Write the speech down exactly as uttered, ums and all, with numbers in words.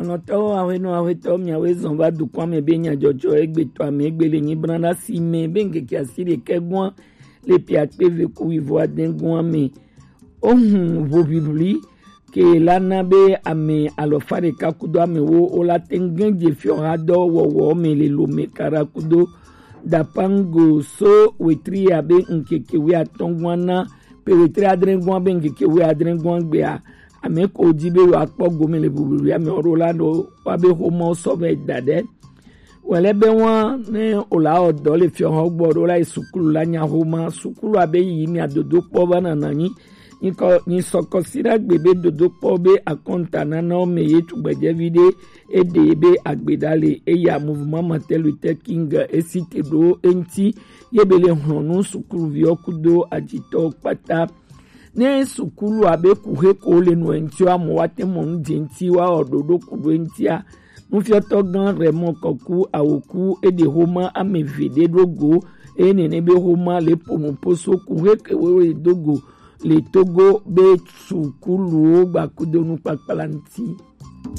Nɔtɔwo, aƒenɔ, aƒetɔ, miawoe zɔn va dukɔa me be nyadzɔdzɔ egbe tɔ ame egbe le nyi bran ɖe asi me be ŋkeke asiɖekɛ gɔa le piakpe ve ku wivo ade gɔa me. Ohun ʋoʋiʋli ke la na be ame alɔfa ɖeka kudo ame wo wo la te ŋu je fiɔha dɔ wɔwɔ me le Lome kara kudo Dapango so wetri abe ŋkeke wuiatɔ̃ gɔa na pe wetri adre gɔa be ŋkeke wuiadre gɔa gbea, ame ko di be yewoakpɔ gome le ʋuʋuʋuia me ɔ ɖo la ɖo woabe xomawo sɔ vɛ da ɖe. Wɛlɛ be wa ne wòle awɔ dɔ le fiɔhɔ gbɔ ɖo la yi sukulu la nya xoma sukulu abe yi mia dodo kpɔ va nana nyi nyikɔ nyisɔkɔ si ɖe agbe be dodo kpɔ be akɔnta nanawo me ye tugbedzɛvi ɖe eɖe be agbe ɖa le eya mouvement Martin Luther King esi te ɖo eŋti ye be le hlɔnu sukuluviwo kudo adzitɔwo kpata. Ne sukulu abe kuxe ko le nɔ eŋti wa mo wa te mɔ nu dze ŋti wa ɔ ɖoɖo ku ɖo eŋtia, nufiɔtɔ gã Raymond Kɔku Awoku eɖe xoma ame eve ɖe ɖo go eye nene be xoma le ponu poso kuxe ke wo le do go le Togo be sukuluwo gbakudo nukpakpla ŋti.